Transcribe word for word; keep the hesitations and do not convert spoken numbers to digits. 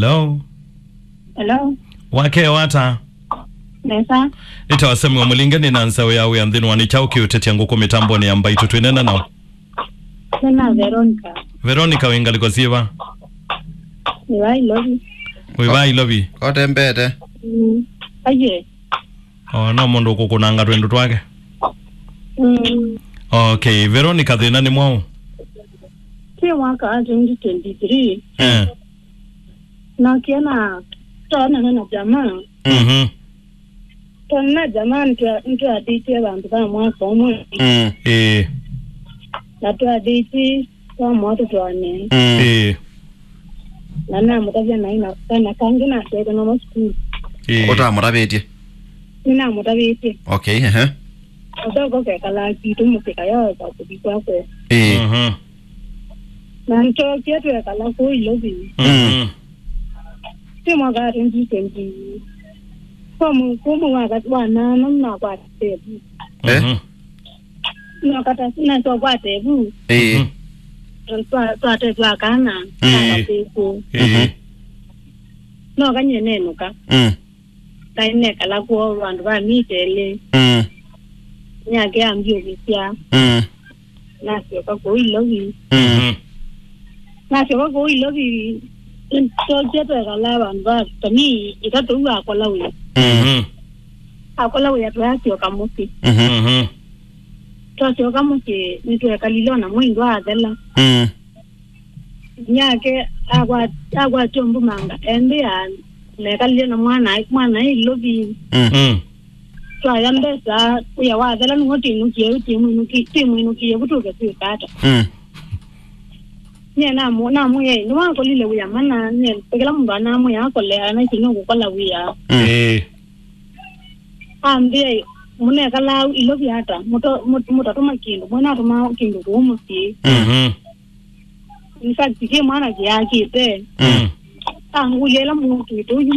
Hello? Hello? Wakya ata? Nesa. Nĩtawa Samuel Mũlinge, nĩ na nzaũ ya wĩa nthĩnĩ wa Nĩ Kyaũ Kĩũtetya Ngũkũ mĩtambonĩ ya Mbaitũ. Twĩneena naũ? Nĩ na Veronica. Veronica, wĩ ngalĩko syĩva? Nĩ wa Ilovi. Wĩ va Ilovi? Kotembete. Mm. Aiye. O, no mũndũ ũkũkũnanga twĩndũ twake. Mm. Okay, Veronica, thĩna nĩ mwaũ? Twĩ mwaka wa twenty twenty-three. Eh. Nakie na twaonana na jamaa. Mhm. Twaonana na jamaa, nĩtwa- nĩtwatĩtie vandũ va mwaka ũmwe. Mm. Ĩĩ. Na twatĩtie twamũa tũtwaane. Mm. Ĩĩ. Na namũtavya naĩ na kana kangĩ nasyete namo sukulu. Ĩĩ. Ũtamũtavĩtye? Nĩnamũtavĩtye. Okay, ehe. Kathoko kekalaa kitũ mũsyĩ kayoeka kũthi kwakwe. Ĩĩ. Mhm. Na nĩtwookie twekala kũu Ilovi. Mhm. Ti mwaka wa twenty twenty. Kwa mu- kuma mwaka wa nana nakwata evu. Eh? Mhm. Nakata nasyokwata evu. Ĩĩ. Mhm. Twa- twate twakana. Ĩĩ. Nakatĩkũ. Ĩĩ. Mhm. Nokanyie nenũka. Mm. Kaĩ nekala kwoo vandũ va mita ĩlĩ. Mm. Nyake ambyũkĩsya. Mm. Nasyoka kũu Ilovi. Mm. Mhm. Nasyoka kũu Ilovi, twokie twekala vandũ va tami itatũ, yu akola wĩa. Mm. Mhm. Akola wĩa, twasyoka mũsyĩ. Mhm. Mhm. Twasyoka mũsyĩ, nĩtwekalile ona mwei ndwathela. Mm. Nyake akwa- akwatya mbumanga, embĩa nekalile na mwana, mwana Ilovi. Mm. Mm. Twaya mbesa, wĩa wathela nĩw'o twĩnũkie, twĩmwĩnũki- twĩmwĩnũkie kũtũke twĩka ata. Mm. Nyie namu- namwĩa, "Nĩwakolile wĩa mana, nyie kĩla mũndũ anamwĩa akole, anaisi nũkũkola wĩa." Mm. Ĩĩ. Ambĩa, "Mũnekalaa Ilovi ata? Mũto- mũ- mũtatũma kĩndũ, mwenatũma kĩndũ kũu mũsyĩ." Mm. Mhm. In fact, kĩ mwana kĩakĩte. Mm. Angũlya ĩla mũtwĩte ũyu